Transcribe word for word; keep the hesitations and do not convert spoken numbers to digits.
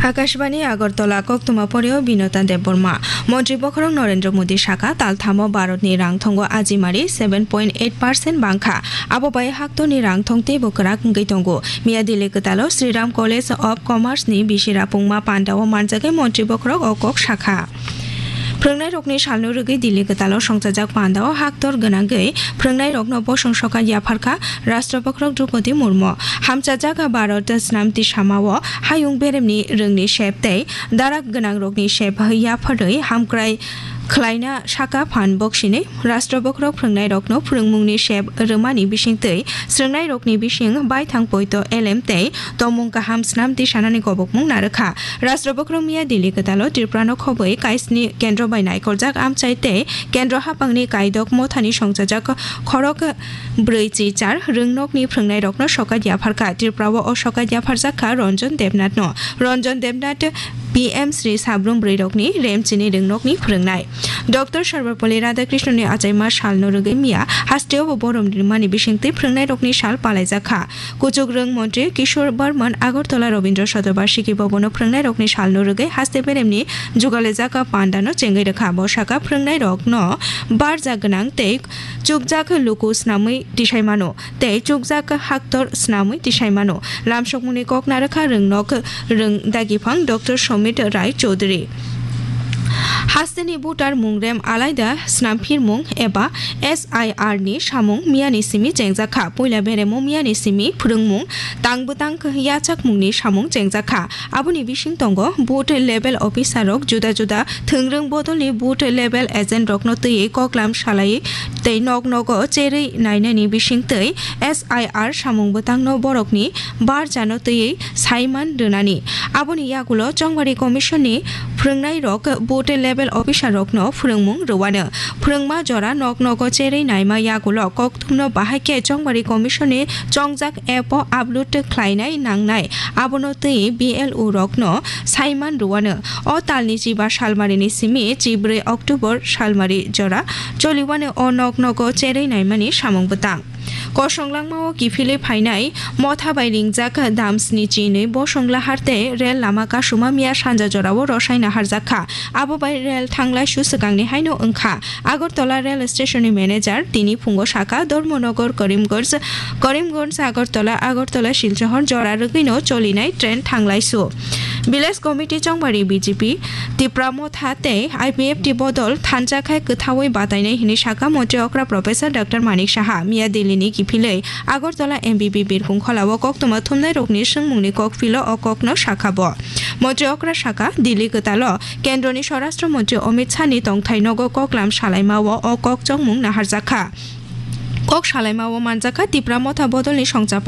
Akashbani Agartala, koktwma poreo Binota Debbarma. Montri bokhorok Narendra Modi saka, talthamo Bharatni rangthongo ajimari seven point eight percent bangkha. Abo bai haktorni rangthong teibo kwrak wngwi tongo. Miya Delhi kwtalo Shriram College of Commerce ni bisi rapungma pandao manjagwi montri bokhorok o kok sakha. Phwrwngnairokni salno rwgwi Delhi kwtalo songchajak pandao haktor gwnangwi phwrwngnairokno bosong sokat yapharkha Rashtra bokhorok Droupadi Murmu. Hamchajak Bharat snamti samao hayung beremni rwngni sep tei darak gwnangrokni sep yapharwi hamkrai khlaina saka phan boksinwi Rashtra bokhorok phwrwngnairokno phwrwngmungni sep rwmani bisingtwi swrwngnairokni bising baithang poito elem tei tongmung kaham snamti sanani gobokmung narwkha. Rashtra bokhorok miya Delhi kwtalo Tripurano khobwi kaisni kendro bai naikoljak amchai tei kendro haphangni kaidok mothani songchajak khorok brwi chi char rwngnokni phwrwngnairokno sokat yapharkha. Tripurao o sokat yapharjak kha Ranjan Debnathno. Ranjan Debnath P M Shri Sabrum Bwrwirokni Remchini Rwngnokni Phwrwngnai. Doctor Sarvepalli Radhakrishnani achaima salno rwgwi miya hasteo bo borom rimani bisingtwi phwrwngnairokni sal palaijakha. Kuchuk rwng montri Kishore Barman Agartala Rabindra Shatobarshiki Bhabono phwrwngnairokni salno rwgwi haste beremni jugalejak pandano chengwi rwkha. Bo saka phwrwngnairokno barja gwnang tei chukjak luku snamwi tisai mano, tei chukjak haktor snamwi tisai mano. Lamsokmungni kok narwkha rwngnok rwng dagiphang Doctor Somit Rai Chaudhury. Hasteni voter mungrem alaida snamphirmung eba S I R ni samung miyani simi chengjakha. Puila beremo miyani simi phwrwngmung tang bwtang yachakmungni samung chengjakha. Aboni bising tongo booth level officer rok juda juda thwngrwng bodolni booth level agent rokno twiwi koklam salai tei nok nogo cherwi nainani bising twi S I R samung bwtangno borokni barjano twiwi saiman rwnani. Aboni yagulo Chongbari Commission ni phwrwngnai rok booth level officer rokno phwrwngmung rwano. Phwrwngma jora nok nogo cherwi naima yagulo kok thumno bahai khe Chongbari Commission ni chongjak app o upload khlainai nangnai, abono twi B L O rokno saiman rwano. O talni chiba salmarini simi chibrwi October salmari jora choliwano o nok nogo cherwi naimani samung bwtang. Kosong langmao kiphilwi phainai motha bai ringjak damsni chinwi bosong lahar tei rel lama kasuma miya sanja jorao rosai naharjak kha. Abo bai rel thanglaisu swkangni haino wngkha. Agartala Rail Station ni manager tini phungo saka, Dharmanagar, Karimganj, Karimganj, Agartala, Agartala, Silchar jora rwgwino cholinai train thanglaisu. Village Committee Chongbari B J P, Tipra Motha tei I P F T bodol thansa khai kwthaui batainai hwnwi saka Montri okra Professor Doctor Manik Saha. Miya Delhi ni kiphilwi Agartala M B B Birkung Kholao koktwma thumnai rokni swngmungni kokphilo o kokno sakha bo. Montri okra saka, Delhi kwtalo Kendroni Swarashtra Montri Amit Shah ni tongthai nogo koklam salaimao o kok chongmung naharjakha. Kok salaimao manjakha Tipra Motha bodolni songcha